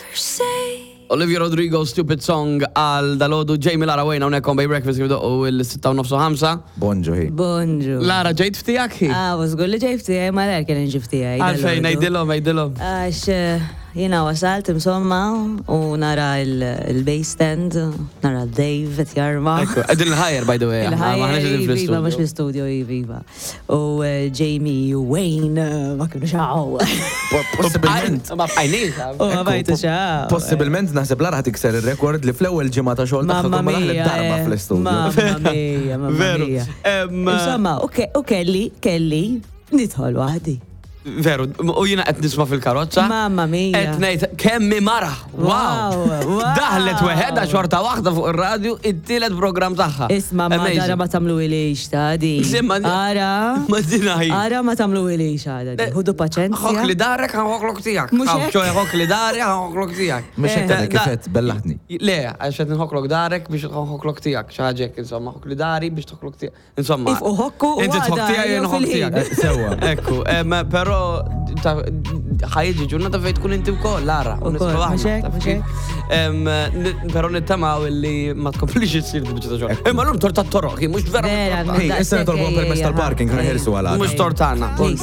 ever say. Olivia Rodrigo, Stupid Song għal dalodu Jamie Lara Wayne hawnhekk on Bay Breakfast kif doqqu il-6 u nofs u 5. Bonġu hi. Bonġu. Lara ġejt ftijak hi? Ah, u żgur li ġejt ftijaj, ma l kien ġi ftijaj. Għalfejn, ngħidilhom, ngħidilhom. Għax eh, jiena wasalt insomma u nara il-base stand, nara Dave qed jarma. Ekku, qegħdin il-ħajjer by the way. Il-ħajjer, iva, mhux l-istudio, iva. U eh, Jamie u Wayne eh, ma kienu xaw. Possibilment. Ma bqajniex. U ma bajtu xaw. Possibilment naħseb Lara tikser ir-rekord li fl-ewwel ġimgħa ta' xogħol tagħha tkun ma daħlet darba fl-istudio. Mamma mia, mamma Veru. mia. Insomma, u kelli, kelli, nidħol waħdi. Veru, u jina qed nisma' fil-karozza. Mamma mia. Qed ngħid kemm hi mara. Wow. Wow, wow. Daħlet weħedha xorta waħda fuq ir-radju it-tielet programm tagħha. Isma, ma Amazing. dara ma tamlu ilix ta' di. Simma, Ara. Ma dina hi. Ara ma tamlu ilix għada di. Ħudu paċenzja. Ħok li darek, ħoklok tiegħek. Mhux hekk? ċoħe ħok li dari, ħoklok tiegħek. Mhux hekk għadek Da- kif għedt, bellaħtni. Le, għax qed nħoklok darek biex nħoklok tiegħek. Xi ħaġa hekk, insomma, ħok li dari biex tħoklok tiegħek. Insomma. If uħokku u Inti tħok għada, tiegħi jew jien nħok fil-ħin. tiegħek. Sewwa. Ekku, però ħajġi ġurnata fejn tkun inti wkoll, Lara. u Ukoll, nidħlu aħna, mhux hekk, taf mhux kif? Però nittamaw illi ma tkomplix issir di biċċa ta' xogħol. Imma llum torta toroq, mhux vera. Vera, torta. Hey, issa nitolbu permess tal-parking, ħa neħilsu għal għada. Mhux tortana. Please.